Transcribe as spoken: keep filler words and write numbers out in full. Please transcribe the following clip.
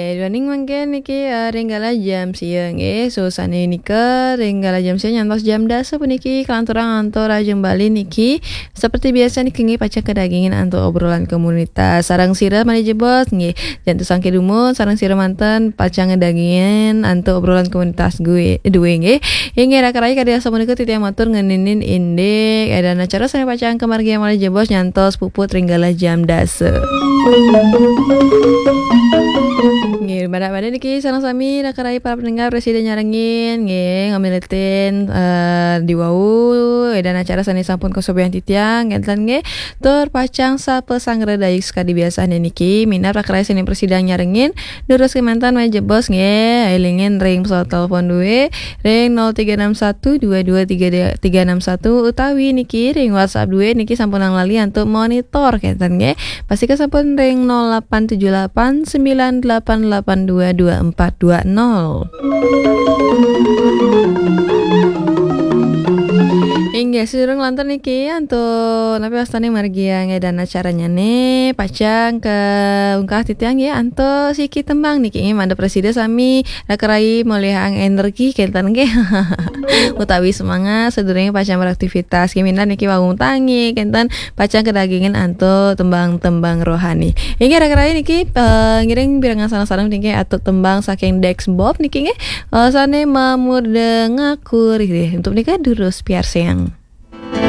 Eh, duaning mangkin niki, eh, ring galah jam sia nggih. So, sane nika ring galah jam sia nyantos jam dasa puniki kalanturang antuk Rahajeng Bali niki. Seperti biasa niki nggih pacang kadagingin antuk obrolan komunitas. Sareng sira malih jebos nggih. Jantos sangke dumun, sareng sira manten pacang kadagingin antuk obrolan komunitas gue, due nggih. Inggih, raka rayi kadi asapunika titiang matur ngeninin indik, eh, dan acara sane pacang kamargiang malih jebos nyantos puput ring galah jam dasa. Nggih, mangda-mangda niki sareng sami raka rayi para pendengar prasida nyarengin, nggih, ngamilitin, eh, diwau, eh, dan acara sane sampun kasobiahang titiang, kenten nggih, tur pacang sapasanggra dayus kadi biasane niki, minab raka rayi sane prasida nyarengin, durus kemanten malih jebos nggih, elingin ring pesawat telepon due, ring nol tiga enam satu dua dua tiga tiga enam satu utawi niki ring WhatsApp due niki sampun lali antuk monitor kenten nggih. Pastika sampun ring nol delapan tujuh delapan sembilan delapan delapan dua dua empat dua nol. Inggih, sadurung lantur niki antuk napi wastane margiang dan acaranyane pacang kaungkah titiang nggih antuk siki tembang niki nggih mangda prasida sami raka rayi molihang energi kenten nggih. Utawi semangat sadurunge pacang beraktivitas. Nggih minab niki wau tangi kenten pacang kadagingin antuk tembang-tembang rohani. Inggih raka rayi niki, eh, ngiring pirengang sareng-sareng niki antuk tembang saking Dex Bob niki nggih. Eh, sane mamurda ngakur nggih. Untuk nika durus piarsayang.